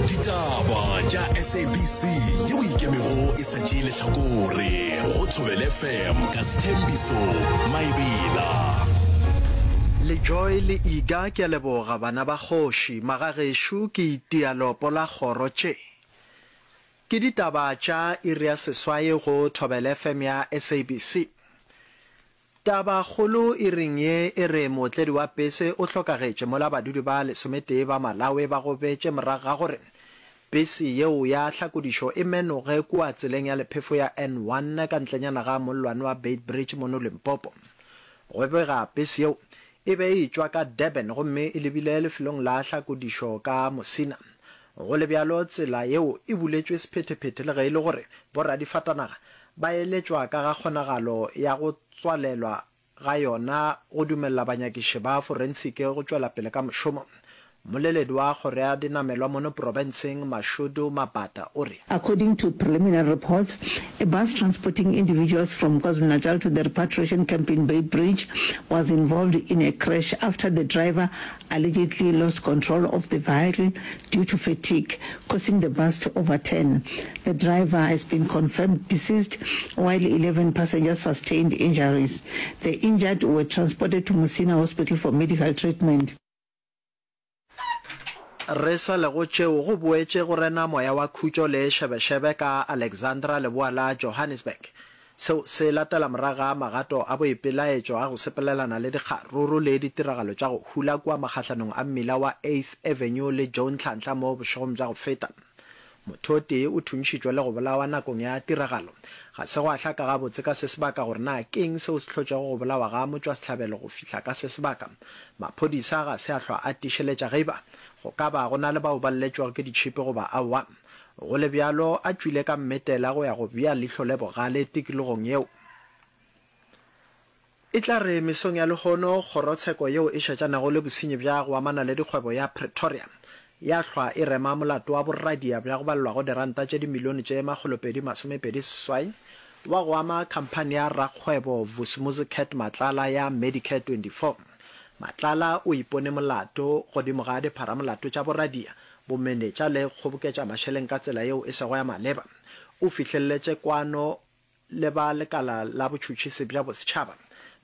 Ditaba tša SABC yeo e ikemego e sa tšee lehlakore go Thobela FM ka Sthembiso Maebela. Le Joy le Iga ke a leboga bana ba kgoši magagešo ke itia leopo la kgoro tše ke ditaba tša iri ya seswai go Thobela FM ya SABC. Tabakgolo iring ye e re mootledi wa pese o hlokagetše mola badudi ba lesometee ba Malawi ba gobetše morago ga gore pese yeo ya hlakodišo e menoge kua tseleng ya lephefo ya N1 ka ntlenyana ga mollwane wa Beitbridge mono Limpopo. Go bega pese yeo e be e etšwa ka Durban gomme e lebile lefelong la hlakodišo ka Musina. Go le bjalo tsela yeo e buletšwe sephethephethe le ge e le gore boradifatanaga Ba eletšwa ka ga kgonagalo ya go tswalelwa ga yona go dumelela banyakiši ba forensiki go tšwela pele ka mošomo. Mmoleledi wa Kgoro ya Dinamelwa mono profenseng, Mashudu Mabata o re. According to preliminary reports, a bus transporting individuals from KwaZulu-Natal to the repatriation camp in Beitbridge was involved in a crash after the driver allegedly lost control of the vehicle due to fatigue, causing the bus to overturn. The driver has been confirmed deceased while 11 passengers sustained injuries. The injured were transported to Musina Hospital for medical treatment. Re sa le go tšeo, go boetše go rena moya wa khutšo le šebešebe ka Alexandra leboa la Johannesburg. Seo se latela morago ga magato a boipelaetšo a go sepelelana le dikgaruru le ditiragalo tša go hula kua magahlanong a mmila wa Eighth Avenue le Joe Nhlanhla mo bošegong bja go feta. Motho o tee o thuntšhitšwe le go bolawa nakong ya tiragalo. Ga se gwa hlaka gabotse ka se sebaka gore na ke eng seo se hlotšego go bolawa ga motšwasehlabelo go fihla ka se sebaka. Maphodisa ga se a hlwa a tiišeletša ge e ba go ka ba go na le bao ba lletšwego ke ditšhipi goba aowa. Go le bjalo, a tšwile ka mmetela go ya go bea leihlo le bogale tikologong yeo. E tla re mesong ya lehono, kgorotsheko yeo e šetšanego le bosenyi bja go amana le dikgwebo ya Pretoria ya hlwa e rema molato wa boradia bja go balelwago diranta tše dimilione tše makgolopedi masomepedi seswai wa go ama khamphani ya rakgwebo Vusumuzi Cat Matlala ya Medicare 24. Matlala o ipone molato godimo ga dipharamolato tša boradia, bomenetša le kgoboketša mašeleng ka tsela yeo e sego ya maleba. O fihleletše kwano le ba lekala la botšhotšhisi bja bosetšhaba,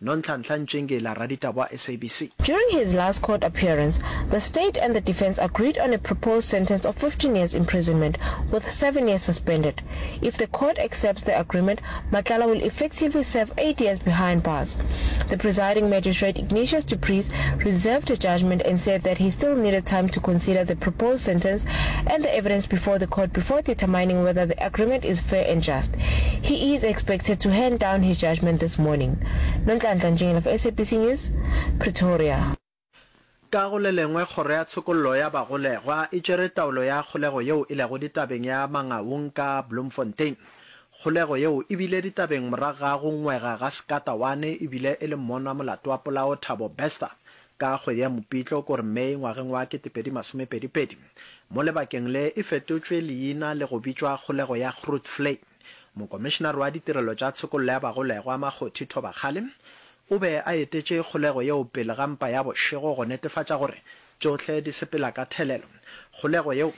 Nonhlanhla Ntšingila, raditaba wa SABC. During his last court appearance, the state and the defense agreed on a proposed sentence of 15 years imprisonment, with seven years suspended. If the court accepts the agreement, Matlala will effectively serve eight years behind bars. The presiding magistrate, Ignatius du Preez, reserved a judgment and said that he still needed time to consider the proposed sentence and the evidence before the court before determining whether the agreement is fair and just. He is expected to hand down his judgment this morning. Nonhlanhla Ntshingila for SABC News, Pretoria. Ka go le lengwe, Kgoro ya Tshokollo ya Bagolegwa e tšere taolo ya kgolego yeo e lego ditabeng ya Mangaung ka Bloemfontein. Kgolego yeo e bile ditabeng morago ga go ngwega ga Sekatawane e bile e le mmonwa molato wa polao Thabo Bester ka kgwedi ya Mopitlo kore May ngwageng wa 2022. Mo lebakeng le e fetotšwe leina le go bitšwa kgolego ya Grootvlei. Mokomišenare wa Ditirelo tša Tshokollo ya Bagolegwa Makgothi Thobakgale o be a etetše kgolego yeo pele ga mpa ya bošego go netefatša gore tšohle di sepela ka thelelo. Kgolego yeo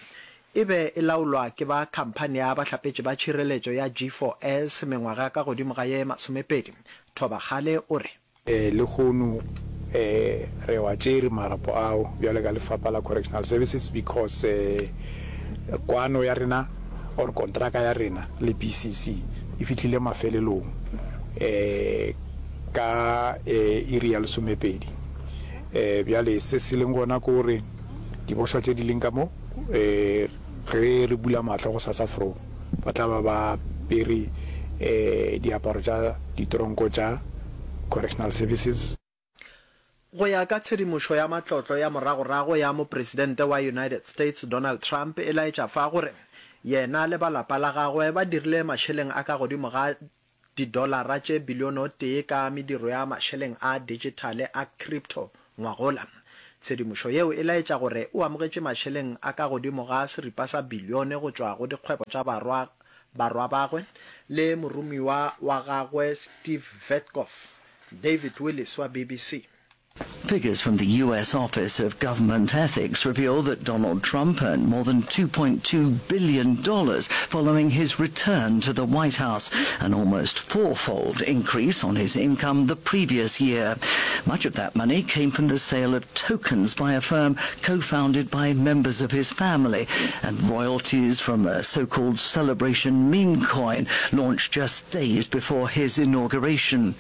e be e laolwa ke ba khamphani ya bahlapetši ba tšhireletšo ya G4S mengwaga ka godimo ga ye masomepedi. Thobakgale o re. Lehono re wa tšere marapo ao bjalo ka lefapha la Correctional Services because kwano ya rena or kontraka ya rena le BCC e fihlile mafelelong ka iri ya lesomepedi. Bjale se se leng gona ke gore dibošwa tše di leng ka mo ge re bula mahlo gosasa fro ba tla ba ba apere diaparo tša ditronko tša Correctional Services. Go ya ka tshedimošo ya matlotlo ya moragorago ya Mopresidente wa United States Donald Trump e laetša fa gore yena le ba lapa la gagwe ba dirile mašeleng a ka godimo ga didolara tše bilione o tee ka mediro ya mašeleng a dijithale a crypto ngwagola. Tshedimošo yeo e laetša gore o amogetše mašeleng a ka godimo ga seripa sa bilione go tšwa go dikgwebo tša barwa barwa bagwe le moromiwa wa gagwe Steve Witkoff. David Willis wa BBC. Figures from the U.S. Office of Government Ethics reveal that Donald Trump earned more than $2.2 billion following his return to the White House, an almost fourfold increase on his income the previous year. Much of that money came from the sale of tokens by a firm co-founded by members of his family and royalties from a so-called celebration meme coin launched just days before his inauguration.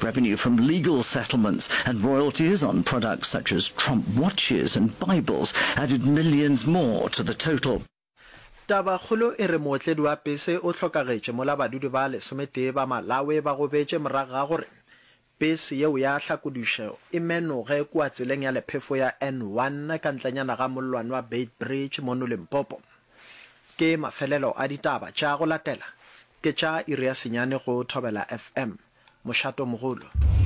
Revenue from legal settlements and royalties on products such as Trump watches and Bibles added millions more to the total. Tabakgolo e re mootledi wa pese o hlokagetše mola badudi ba lesometee ba Malawi ba gobetše morago ga gore pese yeo ya hlakodišo e menoge kua tseleng ya lephefo ya N1 ka ntlenyana ga mollwane wa Beitbridge mono Limpopo. Ke mafelelo a ditaba tša go latela ke tša iri ya senyane go Thobela FM. Mošatomogolo.